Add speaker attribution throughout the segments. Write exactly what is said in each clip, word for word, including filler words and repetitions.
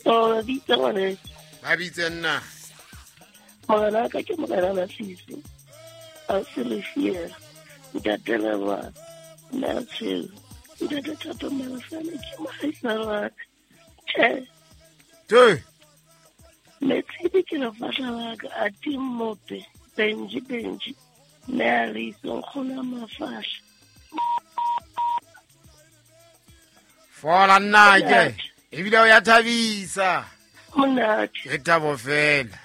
Speaker 1: Kopa ba bitse ngwaneso.
Speaker 2: Ba bitse nna.
Speaker 1: Morena ka ke morena Masisi. A se lefiela. Ntate Leboa. Nna tsheo. Ntate Thato Malefane ke mohaisane wa ka. Tjhe.
Speaker 2: Tjhe.
Speaker 1: Metshidi ke lefahla la ka a timmope. Benji Benji. Mme a re itse nkgono mafahla.
Speaker 2: Fola nnake. Ebile o ya thabisa.
Speaker 1: Monate.
Speaker 2: Ke thabo fela.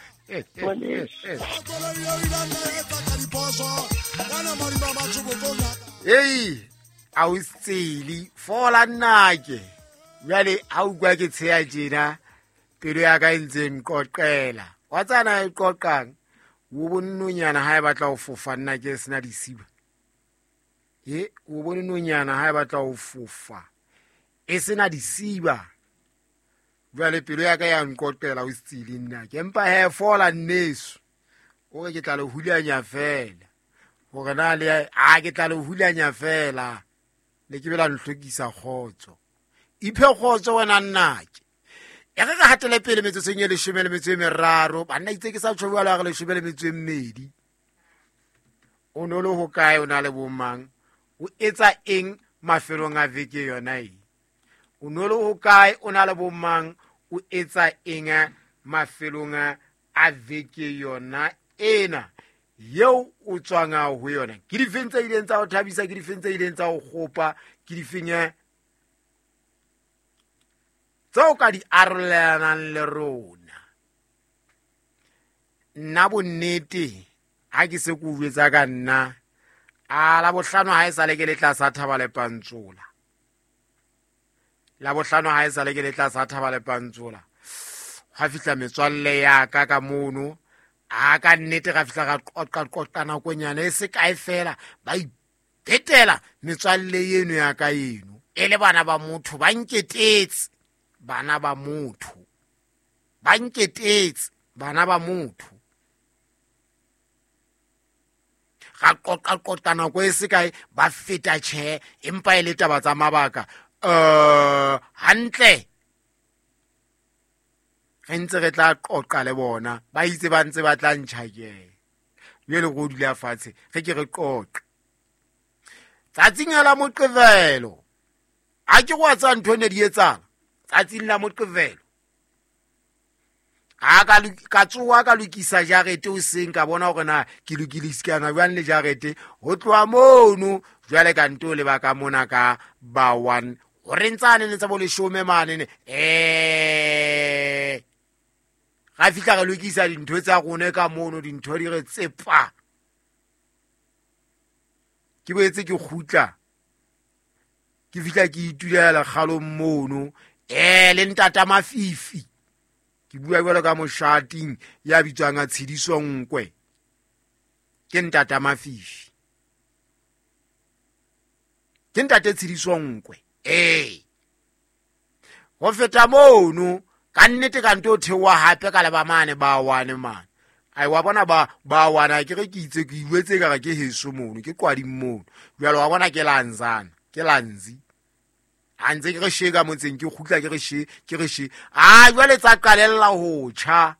Speaker 2: Ei, a o tseli fola nnake. Jwale ha utlwa ke tsheya tjena pelo ya ka e ntse nqoqela. Wa tsana e qoqang. O bone nonyana ha e batla ho fofa nna ke sena disiba. E o bone nonyana ha e batla ho fofa e sena disiba. Jwale pelo ya ka ya nqoqela o tseli nna ke empa he fola nneso. O re ke tla le hulanya fela. Hore na le a ke tla le hulanya fela. Le ke bela nhlokisa kgotso. Iphe kgotso wena nnake. E re re hatele pele metsotsong e leshome le metso e meraro. Banna itse ke sa tjho jwalo a re leshome le metso e mmedi. O no le ho kae o na le bomang? O etsa eng mafelong a veke yona e? O no le ho kae o na le bomang? O etsa eng mafelong a veke yona ena? Yeo o tswang ho yona. Ke difeng tse ileng tsa ho thabisa, ke difeng tse ileng tsa ho kgopa, ke difeng tseo ka di arolelanang le rona. Nna bonnete ha ke se ke o jwetsa ka nna a la bohlano ha e sale ke le tlasa Thaba le Pantsola. La bohlano ha e sale ke le tlasa Thaba le Pantsola. Ha fihla metswalle ya ka ka mono a ka nnete ra fihla ra qoqa qoqa nakonyana e se kae fela ba iphetela metswalle eno ya ka eno e le bana ba motho ba nketetse. Bana ba motho ba nketetse bana ba motho ga qoqa qoqa nako e se kae ba feta tjhe empa e le taba tsa mabaka eh hantle re ntse re tla qoqa le bona ba itse ba ntse ba tla ntjhakela jwale go dula fatshe re ke re qoqe tsatsing la Moqebelo a ke go tsa ntho ne di etsang tsatsing la Moqebelo a ka ka tsoa ka lokisa jarete o seng ka bona hore na ke lokilisikana jwang le jarete ho tloha mono jwale ka nto le ba ka mona ka ba one hore ntsane ne tsa bo leshome mane ne eh ga fihla re lokisa dintho tsa rona ka mono dintho di re tsepa ke boetse ke kgutla ke fihla ke itulela kgalong mono eh le ntata Mafifi ke bua jwalo ka moshating ya bitswang a Tshidiso Nkwe ke ntata Mafifi ke ntate Tshidiso Nkwe eh ho feta mono ka nnete ka nto theoha hape ka leba mane ba wane mane ai wa bona ba ba wana ke re ke itse ke iwetse ka re ke heso mono ke qwading mono jwalo wa bona ke lanzana ke lanzi a ntse ke re sheka motseng ke kgutla ke re she ke re she a jwale tsa qalella ho tjha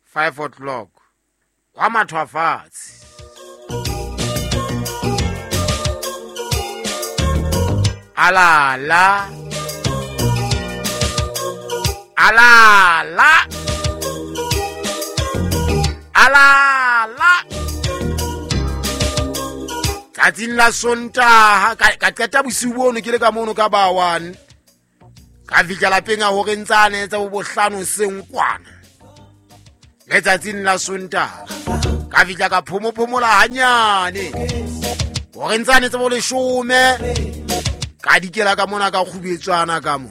Speaker 2: five o'clock wa mathwa fatshe alala alala alala tsatsing la Sontaha ka qeta bosiu bono ke le ka mono ka ba one ka fihla lapeng a hore ntsane tsa bo bohlano seng kwana letsatsing la Sontaha ka fihla ka phomophomola hanyane hore ntsane tsa bo leshome ka dikela ka mona ka kgubetswana ka mo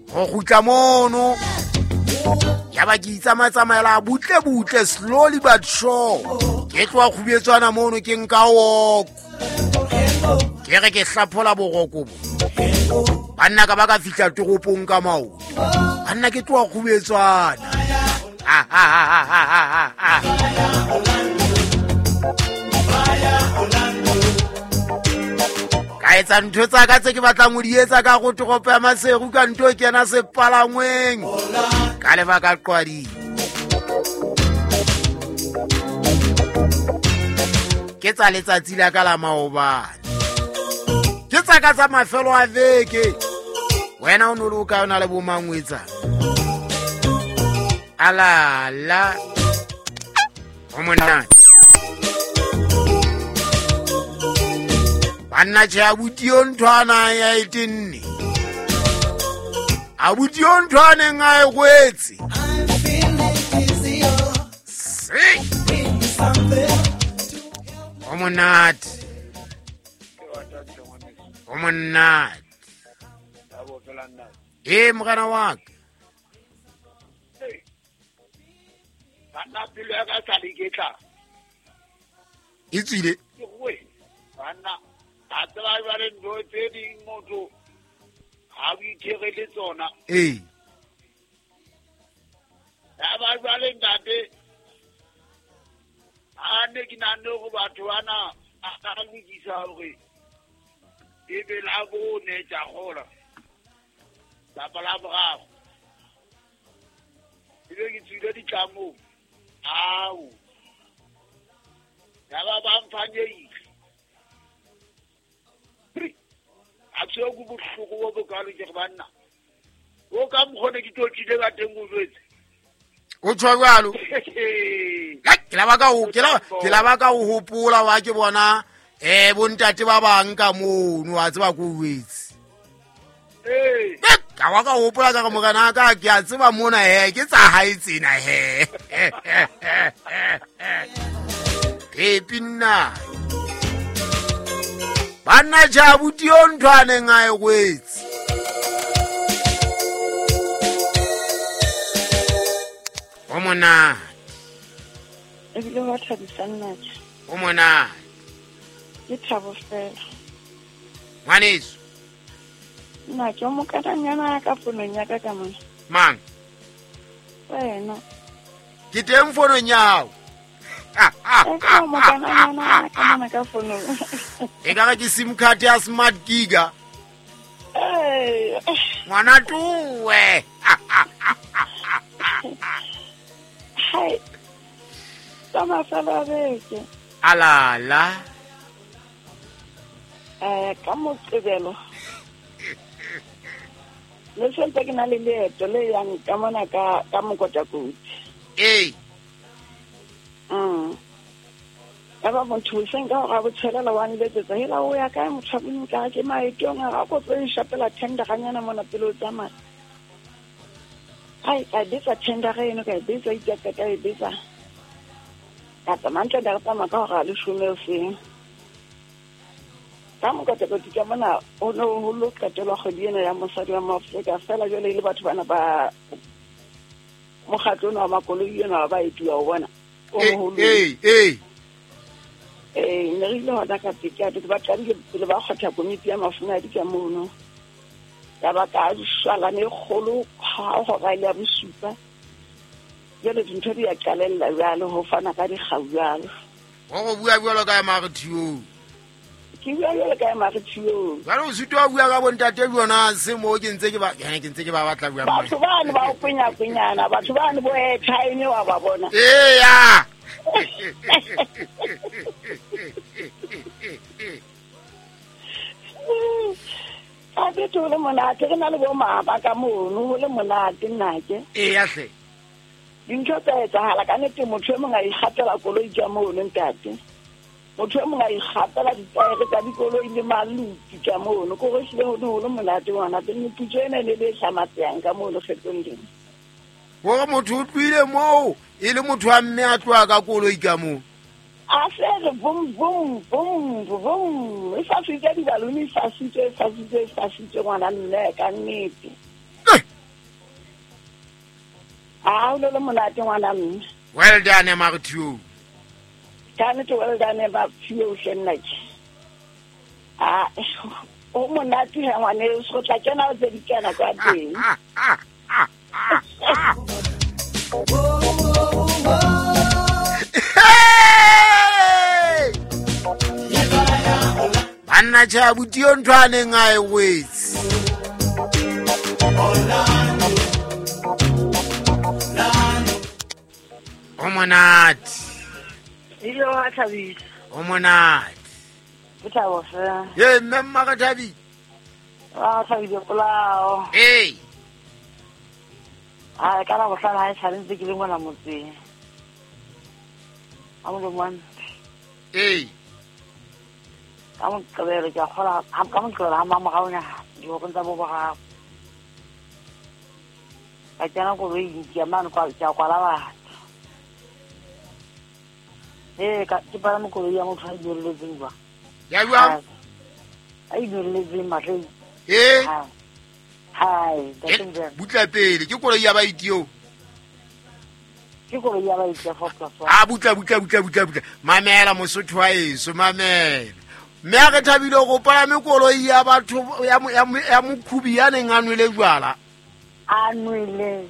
Speaker 2: ho kgutla mono ya ba ke itsamatsamaela butle butle slowly but sure ke tloha kgubetswana mono ke nka walk ke re ke hlaphola boroko bo banna ka ba ka fihla toropong ka maoto banna ke tloha kgubetswana ah ah ah ah ah ah. Ka etsa ntho tsa ka tse ke batlang ho di etsa ka go toropo ya Maseru ka ntho kena sepalangweng. Ka lebaka Qwading. Ke tsa letsatsi la ka la maobane. Ke tsa ka tsa mafelo a veke. Wena o no le o kae o na le bo mang o etsang? Ala la. O monate. Banna tjhe abuti yo ntho a nang ya e tenne. Abuti yo ntho a neng a e kwetse. Se. O monate. O monate. Eh morena wa ka.
Speaker 3: Banna pelo ya ka sa le ketla.
Speaker 2: E tswile.
Speaker 3: Ke goe. Banna a tseba jwale ntho tse ding motho ha o ithere le tsona.
Speaker 2: Eh.
Speaker 3: Ya ba jwale ntate a ne ke nahane hore batho bana a ka lokisa hore e be la bone tsa gola. Kapa la boraro. Ebe ke tswile ditlamong. Ao. Ya ba ba mfanyeile. A tshwe go bohloko bo bokalo ke banna. O ka mkhone ke tlotlile ka teng o jwetse.
Speaker 2: O tshwa jwalo. Ke la ba ka o ke la ke la ba ka o hopola wa ke bona eh bontate ba bang ka mono wa tseba ko wetse.
Speaker 3: Eh.
Speaker 2: Ka wa ka hopola ka morena ka ke a tseba mona he ke tsa hae tsena he. Pepi nna. Banna ja abuti yo ntho a neng a e kwetse. O monate.
Speaker 1: Ebile wa thabisa nna tje.
Speaker 2: O monate.
Speaker 1: Ke thabo fela.
Speaker 2: Ngwaneso.
Speaker 1: Nna ke o mokananyana ka fonong ya ka ka mona.
Speaker 2: Mang?
Speaker 1: Wena.
Speaker 2: Ke teng fonong ya hao.
Speaker 1: Ke o mokananyana ka mona ka fonong.
Speaker 2: E ka re ke SIM card ya Smart Giga.
Speaker 1: Eh.
Speaker 2: Ngwana tuwe.
Speaker 1: Hai. Tsa mafelo a beke.
Speaker 2: Alala.
Speaker 1: Eh ka Moqebelo. Le sentse ke na le leeto le yang ka mona ka ka Mokotakoti.
Speaker 2: Eh.
Speaker 1: Mm. Ka ba motho seng ka hore a botshelela wa nletsetsa hela o ya kae motho a ka ke maetong a go tlo nshapela tender ganyana mona pele o tsamaya. Ai ka betsa tender eno ka betsa itse ka e betsa. Ka tsamaya ntle ka tsamaya ka hore a leshome o seng. Ka Mokotakoti ka mona o no ho lo qetelwa kgwedi ena ya mosadi wa Maafrika fela jwale e le batho bana ba mokgatlo ona wa makoloi ena ba etuwa o bona. O moholo.
Speaker 2: Eh eh.
Speaker 1: Eh ne re ile hona ka peka ba qadile pele ba kgotha komiti ya mafumadi ka mono. Ya ba ka shwalane e kgolo ha hora ile ya bosupa. Jwale dintho di a qalella jwale ho fana ka dikgau jwalo.
Speaker 2: Wa go bua jwalo ka Maretio.
Speaker 1: Ke bua jwalo ka Maretio.
Speaker 2: Jwale o sitwa bua ka bontate bona se mo ke ntse ke ba ke ntse ke ba batla bua.
Speaker 1: Batho bane ba o penya penyana, batho bane bo airtime wa ba bona.
Speaker 2: Eh ya.
Speaker 1: A be to le monate re na le bo mama ka mono ho le monate nna ke.
Speaker 2: Eh ya hle.
Speaker 1: Dintho tsa etsahala ka nnete motho e mong a ikgatela koloi ka mono ntate. Motho e mong a ikgatela ditaere tsa dikoloi le maluti ka mono ko re hlile ho ne ho le monate ngwana teng meputso ena e ne le e hlamatsehang ka mono kgetlong lena.
Speaker 2: Hore motho o tlohile moo e le motho wa mme a tloha ka koloi ka moo.
Speaker 1: A se re bum bum bum bum e fasitse dibaluni e fasitse e fasitse e fasitse ngwana mme ka nnete. A o le le monate ngwana mme.
Speaker 2: Well done Maretio.
Speaker 1: Ka nnete well done Maretio hle nna ke. A o monate ha ngwane o tla kena o tse di kena kwa teng.
Speaker 2: Banna tjhe abuti yo ntho a neng a e wetse. O monate.
Speaker 1: Ile wa thabisa.
Speaker 2: O monate.
Speaker 1: Ke thabo fela.
Speaker 2: Ye mme mma ka thabi.
Speaker 1: Wa thabile polao.
Speaker 2: Ee.
Speaker 1: Ha ka la bohlala ha e sale ntse ke le ngwana motseng. A mo mong.
Speaker 2: Ee.
Speaker 1: Ka mo qebele ke a kgola ha ka mo qebela ha mamorao nya di tsa bo boraro. Ka kena koloing ke mane kwa ke a kwala batho. Eh ka ke palame koloi ya motho a inyolelletseng jwang.
Speaker 2: Ya jwang?
Speaker 1: A inyolelletseng mahleng.
Speaker 2: Eh.
Speaker 1: Hai, ntate Mojela.
Speaker 2: Butla pele ke koloi ya baeti eo.
Speaker 1: Ke koloi ya baeti ya four plus one.
Speaker 2: Ah butla butla butla butla butla. Mamela Mosotho wa heso mamela. Mme a re thabile go palame koloi ya batho ya ya mokhubi ya neng a nwele jwala.
Speaker 1: A nwele.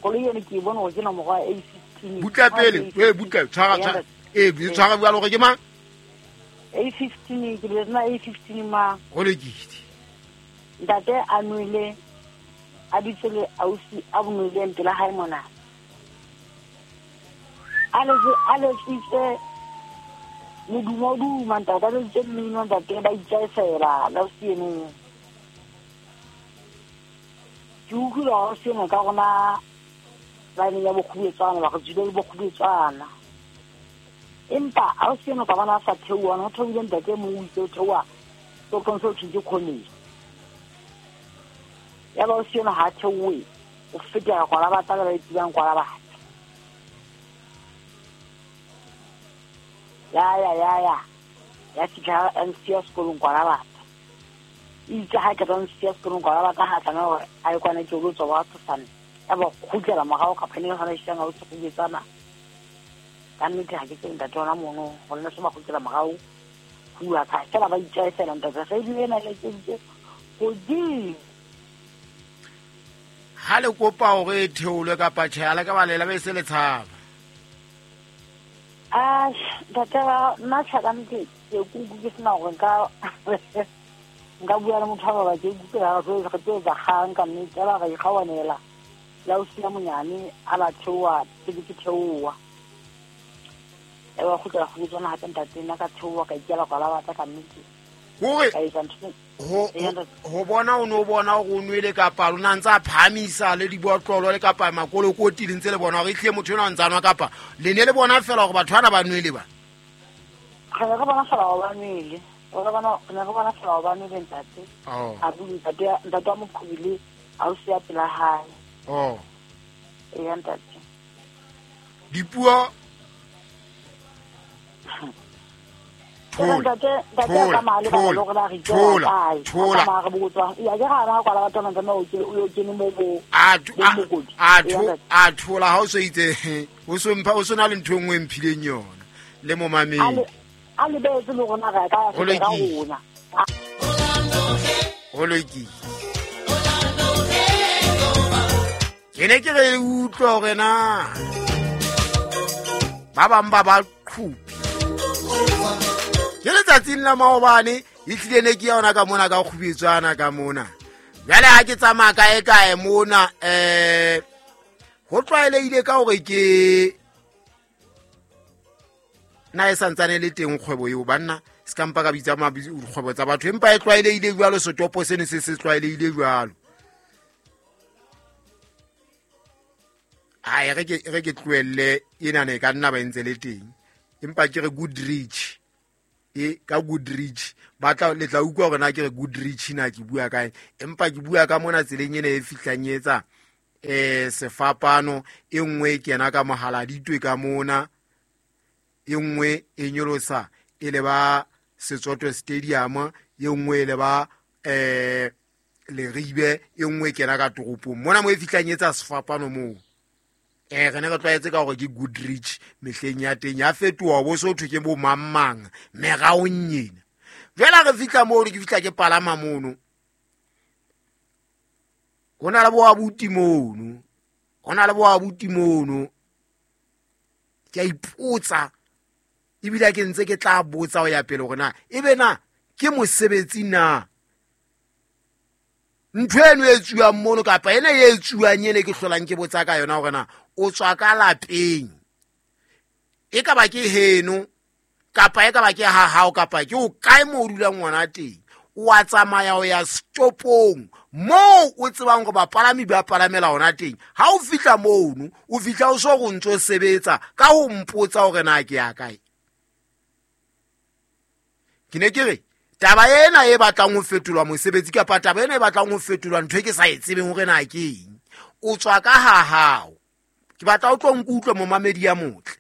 Speaker 1: Koloi ene ke bona gore ke nomoro ya A fifteen.
Speaker 2: Butla pele, eh butla tshwara tshwara. Eh tshwara bua gore ke mang?
Speaker 1: A fifteen ke le nna A fifteen ma.
Speaker 2: Go lekile.
Speaker 1: Ntate a nwele a ditse le ausi a bonweleng pela hae mona. A le a le tsitse modumo duma ntate a le tsitse mmino ntate ba itjaesela la ausi eno. Ke utlwile ausi eno ka rona line ya bokgubetswana ba re tswile le bokgubetswana. Empa ausi eno ka bona a sa theoha ho theohile ntate mo o itse o theoha so consulting ke college. Ya ba ausi eno ha theohe o fetela kwala batla le ba itsebang kwala batla. Ya ya ya ya. Ya fihla M C ya sekolong kwala batla. Itse ha ke tla M C ya sekolong kwala batla ha tlameha hore a ye kwana ke lo tswa wa thosane. Ya ba kgutlela morao ka phane hona isang a o tsogetsana. Ka nnete ha ke tsebe ntate ona mono go nna se ba kgutlela morao. Bua ka fela ba itjaesela ntate ge di ena le tse godimo.
Speaker 2: Ha le kopa hore e theolwe kapa tjhe ha le ka ba lela be se le tshaba.
Speaker 1: Ah, ntate ba nna tjha ka nnete ke kuku ke sena hore nka nka bua le motho ba ba ke kuku ha re re tlo etsa kgang ka nnete ba re ikgawanela. La o sia monyane a ba theoha pele ke theoha. E ba kgutlela go tsona hape ntate nna ka theoha ka ikela kwa la batla ka nnete.
Speaker 2: Hore
Speaker 1: ka etsa ntho
Speaker 2: ho ho bona o no bona hore o nwele kapa lona ntse a phahamisa le dibotlolo le kapa makolokoti le ntse le bona hore ehlile motho ena o ntse a nwa kapa le ne le bona fela hore batho bana ba nwele ba.
Speaker 1: Re ne re bona fela hore ba nwele. Re bona ne re bona fela hore ba nwele ntate. A bule ntate ntate wa moqhobile a o sia pela hae.
Speaker 2: Oh.
Speaker 1: E ntate.
Speaker 2: Dipuo
Speaker 1: ntate ntate ka mali ba lo re re
Speaker 2: thola thola
Speaker 1: ka re botswa ya ke ga ra kwala batho ba mo o o kene mo bo
Speaker 2: a a a thola ha o so itse o so mpha o sona le ntho engwe mphileng yona le mo mameng
Speaker 1: a le betse le rona ra ka ya ka rona
Speaker 2: ho lokile ke ne ke re utlwa hore na ba bang ba ba qhupi ke letsatsing la maobane e tlile ne ke yona ka mona ka kgubetswana ka mona jwale ha ke tsamaya kae kae mona eh ho tlwaelehile ka hore ke na e santsane le teng kgwebo eo banna se ka mpa ka bitsa dikgwebo tsa batho empa e tlwaelehile jwalo setopo sene se se tlwaelehile jwalo. Ai re ke re ke tlohelle ena ne ka nna ba entse le teng empa ke re Goodrich e ka Goodrich ba tla le tla utlwa hore na ke re Goodrich na ke bua kae empa ke bua ka mona tseleng ena e fihlang etsa eh sefapano e nngwe e kena ka mohala ditwe ka mona e nngwe e nyolosa e le ba Setsoto Stadium e nngwe e le ba eh Leribe e nngwe e kena ka toropong mona mo e fihlang etsa sefapano moo. Eh re ne re tlwaetse ka hore ke Goodrich mehleng ya teng ya fetoha bo so thwe ke bo mang meraong ena. Jwale re fihla moo ke fihla ke palama mono. Ho na le bo abuti mono. Ho na le bo abuti mono. Ke a ipotsa ebile ke ntse ke tla botsa ho ya pele hore na ebe na Ke mosebetsi na? Ntho eno e tsuwang mono kapa ena e tsuwang ene ke hlolang ke botsa ka yona hore na o tswa ka lapeng. E ka ba ke heno kapa e ka ba ke ha hao kapa ke o kae mo o dulang ngwana teng. O a tsamaya o ya stopong moo o tsebang hore bapalami ba palamela hona teng. Ha o fihla mono, o fihla o so go ntso sebetsa ka ho mpotsa hore na ke ya kae. Ke ne ke re taba ena e batlang ho fetolwa mosebetsi kapa taba ena e batlang ho fetolwa ntho e ke sa e tsebeng hore na ke eng. O tswa ka ha hao. Ke batla o tlo nkutlwe momamedi ya motle.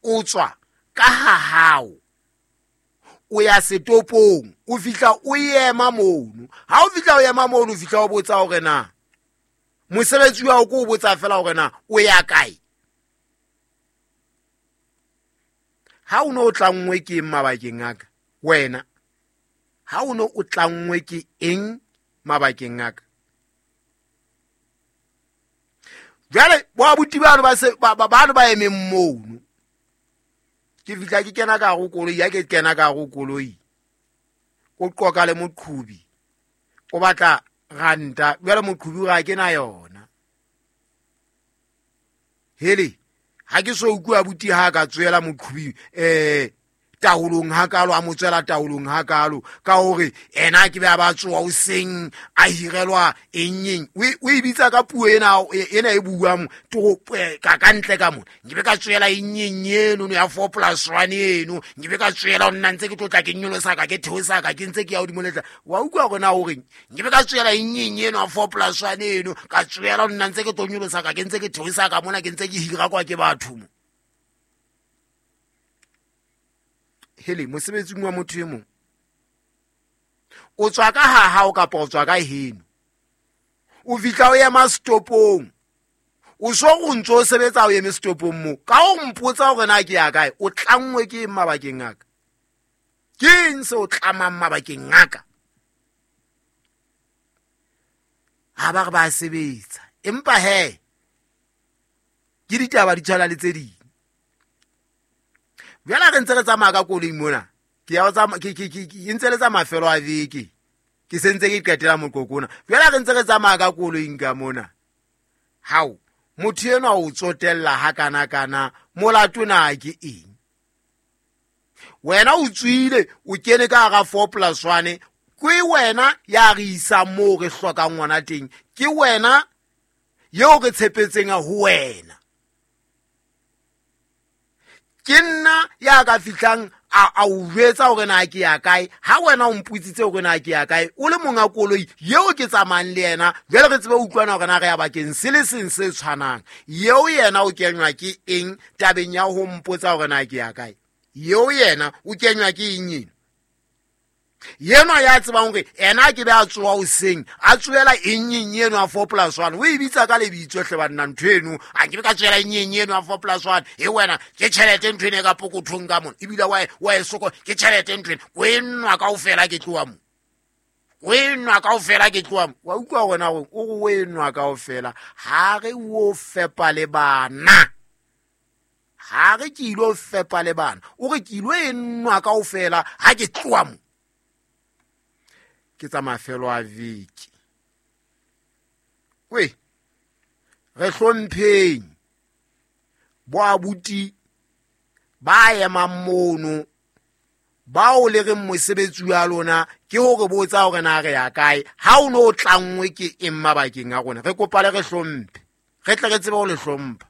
Speaker 2: O tswa ka ha hao. O ya setopong, o fihla o ema mono. Ha o fihla o ema mono, o fihla o botsa hore na mosebetsi wa o ko o botsa fela hore na o ya kae. Ha o no o tlanngwe ke eng mabakeng a ka? Wena ha o no o tlanngwe ke eng mabakeng a ka? Jwale bo abuti bano ba se ba bano ba emeng mono. Ke fihla ke kena ka hare koloi, ya ke kena ka hare koloi. O qoka le moqhubi. O batla ranta, jwale moqhubi o re ha ke na yona. Hele, ha ke so utlwe abuti ha ka tswela moqhubi eh taolong hakalo, a mo tswela taolong hakalo ka hore ena ke be a ba tsoa o seng a hirelwa eng eng. O e bitsa ka puo ena ena e buang to ka ka ntle ka mona. Nke be ka tswela eng eng eno ya four plus one eno, nke be ka tswela nna ntse ke tlotla ke nyolosa ka ke theosa ka ke ntse ke ya hodimo letla. Wa utlwa hore na o reng? Nke be ka tswela eng eng eno ya four plus one eno, ka tswela nna ntse ke tlo nyolosa ka ke ntse ke theosa ka mona ke ntse ke hira kwa ke batho mo. Hele, mosebetsing wa motho e mong. O tswa ka ha hao kapa o tswa ka heno. O fihla o ema stopong. O so go ntso o sebetsa o eme stopong mo. Ka o mpotsa hore na ke ya kae, o tlanngwe ke eng mabakeng a ka? Ke eng se o tlamang mabakeng a ka? Ha ba re ba sebetsa. Empa he, ke ditaba di tshwana le tse ding. Jwale re ntse re tsamaya ka koloi mona. Ke ya tsamaya ke ke ke ntse le tsa mafelo a veke. Ke sentse ke qetela moqoqo ona. Jwale re ntse re tsamaya ka koloing ka mona. Hao, motho enwa o tsotella ha kana kana, molato na ke eng? Wena o tswile o kene ka hara four plus one, ke wena ya re isa moo re hlokang ngwana teng. Ke wena eo re tshepetseng ho wena. Ke nna ya ka fihlang a a o jwetsa hore na ke ya kae. Ha wena o mputsitse hore na ke ya kae, o le monga koloi eo ke tsamayang le yena, jwale re tsebe ho utlwana hore na re ya bakeng se le seng se tshwanang. Eo yena o kenywa ke eng tabeng ya ho mpotsa hore na ke ya kae? Eo yena o kenywa ke eng eno? Yena ya tsebang hore ena ke be a tsoa hoseng, a tsoela eng eng eno ya four plus one. O e bitsa ka lebitso hle banna ntho eno. A ke be ka tsoela eng eng eno ya four plus one. E wena ke tjhelete ntho eno e ka pokothong ka mona. Ebile wa wa e soko ke tjhelete ntho eno. O e nwa kaofela ke tloha mo. O e nwa kaofela ke tloha mo. Wa utlwa hore na o re o e nwa kaofela. Ha re o fepa le bana. Ha re ke ilo fepa le bana. O re ke ilo e nwa kaofela ha ke tloha mo. Ke tsa mafelo a veke. We, re hlompheng bo abuti ba emang mono, bao le reng mosebetsi wa lona ke hore botsa hore na re ya kae. Ha o no tlanngwe ke eng mabakeng a rona, re kopa le re hlomphe, re tle re tsebe ho le hlompha.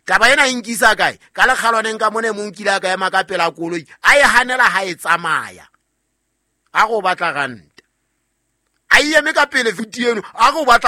Speaker 2: Taba ena e nkisa kae? Ka lekgalwaneng ka mona e mong kile a ka ema ka pela koloi, a e hanela ha e tsamaya. A go batla ranta. A eme ka pele futi eno, a go batla